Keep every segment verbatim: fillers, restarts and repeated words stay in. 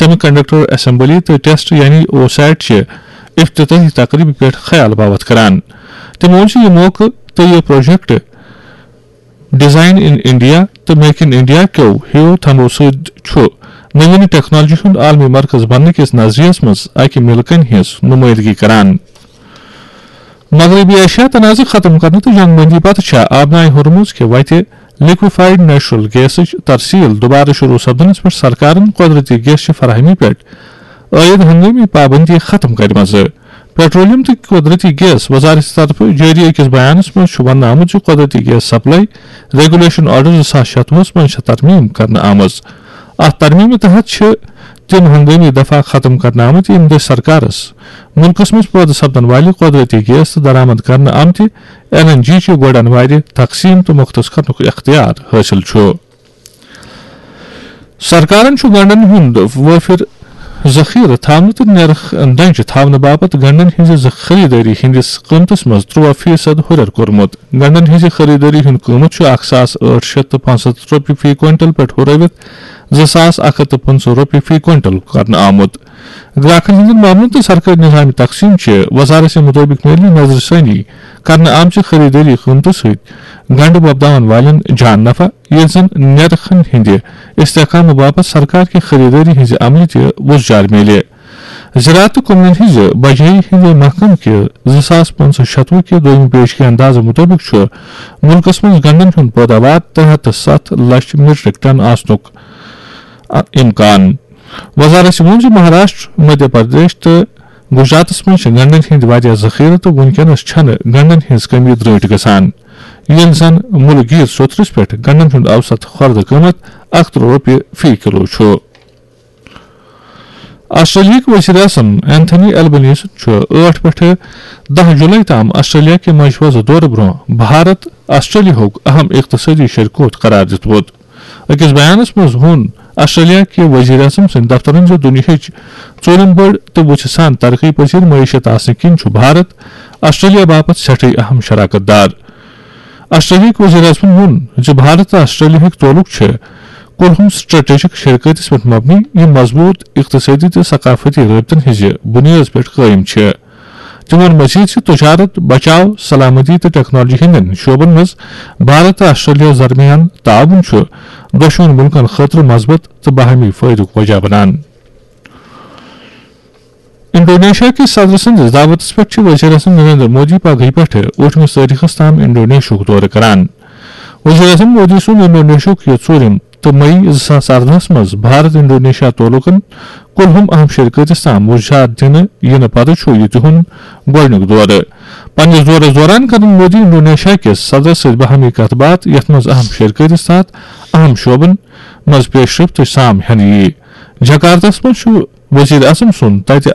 Semi conductor assembly تہٕ test یعنی اوسیٹ چہِ افتتاحی تقریبہِ پٮ۪ٹھ خیال باوتھ کران۔ تٔمۍ ووٚن زِ یہِ موقعہٕ تہٕ یہِ پروجیکٹ ڈیزائن ان انڈیا تہٕ میک ان انڈیا کیو ہیو تھمو سۭتۍ چھُ نوین ٹیکنالوجی ہُنٛد عالمی مرکز بننہٕ کِس نظریس منٛز اکہِ مِلہٕ کنہِ ہٕنٛز نمٲیندگی کران۔ مغربی ایشیا تنازٕ ختم کرنہٕ تہٕ جنگ بندی پتہٕ چھےٚ آبنائے ہرمز کہِ وتہِ لیکویفائیڈ نیچرل گیسٕچ ترسیل دوبارٕ شروع سپدنس پٮ۪ٹھ سرکارن قدرتی گیس چہِ فراہمی پٮ۪ٹھ عائد ہنگٲمی پابندی ختم کرِمژٕ۔ پیٹرولیم تہٕ قدرتی گیس وزارت طرفہٕ جٲری أکِس بیانس منٛز چھُ وننہٕ آمُت زِ قدرتی گیس سپلائی ریگولیشن آرڈر زٕ ساس شتوُہس منٛز چھےٚ ترمیم کرنہٕ آمٕژ۔ اتھ ترمیمہِ تحت چھِ تِم ہنگٲمی دفعہ ختم کرنہٕ آمٕتۍ، یِم دٔسۍ سرکارس مُلکس منٛز پٲدٕ سپدن والہِ قدرتی گیس تہٕ درآمد کرنہٕ آمتہِ این این جی چہِ گۄڈن وارِ تقسیٖم تہٕ مختص کرنُک اختیار حٲصِل چھُ۔ سرکارن چھُ گنڈن ہُنٛد وٲفر ذخیرٕ تھاونہٕ تہٕ نرخ درجہِ تھاونہٕ باپتھ گنڈن ہٕنٛزِ ز-، خریدٲری ہٕنٛدِس قۭمتس منٛز ترُواہ فیصد ہُرٮ۪ر کوٚرمُت۔ گنڈن ہٕنٛزِ خریدٲری ہُنٛد قۭمتھ چھُ اکھ ساس ٲٹھ شیٚتھ تہٕ پانٛژھ ہتھ رۄپیہِ فی کوینٹل پٮ۪ٹھ ہُرٲوِتھ زٕ ساس اکھ ہتھ تہٕ پٕنٛژٕہ رۄپیہِ فی کوینٹل کرنہٕ آمُت۔ گراکن ہٕنٛدٮ۪ن معاملن تہٕ سرکٲرۍ نظام تقسیٖم چہِ وزارت مطٲبق میلہِ نظرِ ثٲنی کرنہٕ آمژِ خریدٲری قۭمتہٕ سۭتۍ گنڈٕ وۄپداون والٮ۪ن جان نفع، ییٚلہِ زن نرخن ہٕنٛدِ استحکامہٕ باپتھ سرکار کہِ خریدٲری ہٕنٛزِ عملہِ تہِ وُژھ جار میلہِ۔ زراعت تہٕ کٕننن ہٕنٛزِ بجٲیی ہٕنٛدِ محکمہٕ کہِ زٕ ساس پانٛژھ ہتھ شتوُہ کہِ دوٚیمہِ پیشگی اندازٕ مُطٲبِق چھُ مُلکَس منٛز گنڈن ہُنٛد پٲداوار ترٛےٚ ہتھ تہٕ ستھ لچھ میٹرک ٹن آسنُک اِمکان۔ وزارت ووٚن زِ مہاراشٹر، مدھیہ پردیش تہٕ گجراتَس منٛز چھِ گنڈن ہٕنٛدۍ واریاہ ذخیرٕ تہٕ وُنکیٚنَس چھَنہٕ گنڈن ہٕنٛز کمی درٛٲٹۍ گژھان، ییٚلہِ زَن مُلک گیٖر سوٚتھرِس پٮ۪ٹھ گنڈن ہُنٛد اوسط خۄردٕ قۭمَتھ اَکھ ترٕٛہ رۄپیہِ فی کِلوٗ چھُ۔ آسٹریلیاہٕکۍ وزیر اعظم اینتھنی البنیزن چھُ ٲٹھ پٮ۪ٹھٕ دَہ جولائی تام آسٹریلیا کہِ مجوزٕ دورٕ برٛونٛہہ بھارت آسٹریلیاہُک اہم اقتصٲدی شریکوت قرار دِتمُت۔ أکِس بیانَس منٛز ووٚن آسٹریلیا کہِ وزیر اعظم سٕنٛدِ دفترَن زِ دُنیاہٕچ ژوٗرِم بٔڑ تہٕ وُژھِ سان ترقی پذیر معیشت آسنہٕ کِنۍ چھُ بھارت آسٹریلیا باپتھ سٮ۪ٹھٕے اہم شراکت دار۔ آسٹریلیاہٕکۍ وزیر اعظمَن ووٚن زِ بھارت تہٕ آسٹریلیاہٕکۍ تعلق چھِ کُلہُم سٹریٹجک شراکتس پٮ۪ٹھ مبنی، یِم مضبوط اقتصٲدی تہٕ ثقافتی رٲبطن ہٕنٛزِ بُنیٲدس پٮ۪ٹھ قٲیِم چھِ۔ تِمَن مزید چھِ تجارت، بچاو، سلامتی تہٕ ٹیکنالوجی ہٕنٛدٮ۪ن شعبن منٛز بھارت تہٕ آسٹریلیاہَس درمیان تعاون چھُ دۄشوٕنی مُلکَن خٲطرٕ مثبت تہٕ باہمی فٲیدُک وجہ بنان۔ انڈونیشیا کِس صدر سٕنٛدِس دعوتس پٮ۪ٹھ چھِ وزیر اعظم نریندر مودی پگہٕے پٮ۪ٹھٕ ٲٹھمِس تٲریخس تام انڈونیشیاہُک دورٕ کران۔ وزیر اعظم مودی سُنٛد انڈونیشیاہُک یہِ ژوٗرِم تہٕ مئی زٕ ساس ارداہس منٛز بھارت انڈونیشیا تعلقن کُلہُم اہم شراکتس تام وُژھ جار دِنہٕ یِنہٕ پتہٕ چھُ یہِ تِہُنٛد گۄڈٕنیُک دورٕ۔ پننِس دورس دوران کرن مودی انڈونیشیا کِس صدرس سۭتۍ باہمی کتھ باتھ، یتھ منٛز اہم شراکتس تحت اہم شعبن منٛز پیشرفت تہٕ سام ہٮ۪نہٕ یِیہِ۔ جکارتاہس منٛز چھُ وزیر اعظم سُنٛد تتہِ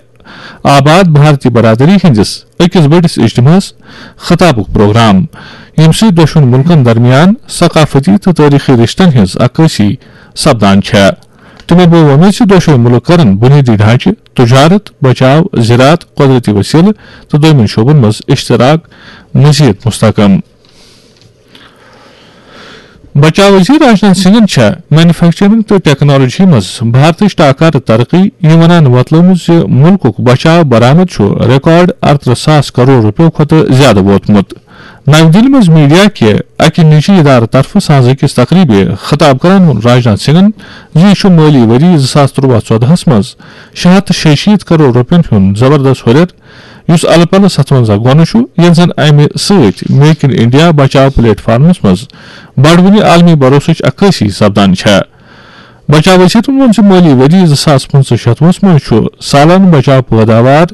آباد بھارتی برادری ہٕنٛدِس أکِس بٔڑِس اجتماعس خطابُک پروگرام، ییٚمہِ سۭتۍ دۄشوٕنی مُلکن درمیان ثقافتی تہٕ تٲریخی رشتن ہٕنٛز عکٲسی سپدان چھےٚ۔ تِمو بوو وۄمید زِ دۄشوٕے مُلک کرن بُنیٲدی ڈھانچہٕ، تجارت، بچاو، زراعت، قدرتی وسیلہٕ تہٕ دوٚیمٮ۪ن شعبن منٛز اشتراک مزید مستحکم۔ بچاو وزیر راجناتھ سنگھن چھےٚ مینوفیکچرنگ تہٕ ٹیکنالوجی منٛز بھارتٕچ ٹاکارٕ ترقی یہِ ونان وۄتلٲومٕژ زِ مُلکُک بچاو برآمد چھُ ریکارڈ ارترٕہ ساس کرور رۄپیو کھۄتہٕ زیادٕ ووتمُت۔ نَوِ دِلہِ منٛز میڈیا کہِ اَکہِ نجی ادارٕ طرفہٕ سانٛز أکِس تقریبہِ خطاب کران ووٚن راجناتھ سنگھن زِ یہِ چھُ مٲلی ؤری زٕ ساس ترٛۆوَہ ژۄدہَس منٛز شےٚ ہَتھ تہٕ شیٚیہِ شیٖتھ کرور رۄپین ہُنٛد زبردست ہُرٮ۪ر، یُس الہٕ پلہٕ ستونزہ گۄنہٕ چھُ، ییٚلہِ زن امہِ سۭتۍ میک ان انڈیا بچاو پلیٹ فارمس منٛز بڑوٕنہِ عالمی بھروسٕچ عکٲسی سپدان چھےٚ۔ بچاو وزیرن ووٚن زِ مٲلی ؤری زٕ ساس پٕنٛژٕہ شتوُہس منٛز چھُ سالانہٕ بچاو پٲداوار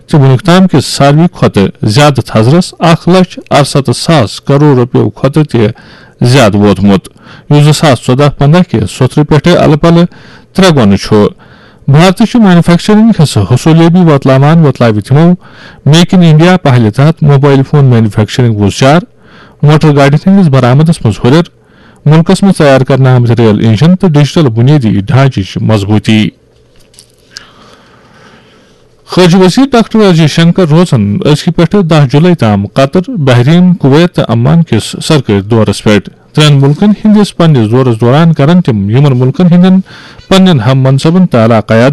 تہِ وُنیُک تام کِس ساروی کھۄتہٕ زیادٕ تھزرس اکھ لچھ ارستتھ ساس کرور رۄپیو کھۄتہٕ تہِ زیادٕ ووتمُت، یُس زٕ ساس ژۄدہ پندہ کہِ سوٚتھرٕ پٮ۪ٹھٕ الہٕ پلہٕ ترٛےٚ گۄنہٕ چھُ۔ بھارتٕچ مینوفیکچرنگ ہٕنٛز حصولیابی وۄتلاوان وۄتلاوِ تِمو میک ان انڈیا پہلہِ تحت موبائل فون مینوفیکچرنگ وُزجار، موٹر گاڑٮ۪ن ہٕنٛدِس برآمدس منٛز ہُرٮ۪ر، مُلکس منٛز تیار کرنہٕ آمٕتۍ ریل انجن تہٕ ڈیجیٹل بُنیٲدی ڈھانچٕچ مضبوٗطی۔ خارجہ وزیر ڈاکٹر ایس جے شنکر روزن أزکہِ پٮ۪ٹھٕ دَہ جولائی تام قطر، بحرین، کویت تہٕ عمان کِس سرکٲرۍ دورس پٮ۪ٹھ۔ ترٛٮ۪ن مُلکن ہٕنٛدِس پننِس دورس دوران کرن تِم یِمن مُلکن ہٕنٛدٮ۪ن پننٮ۪ن ہم منصبن تہٕ علاقہٕ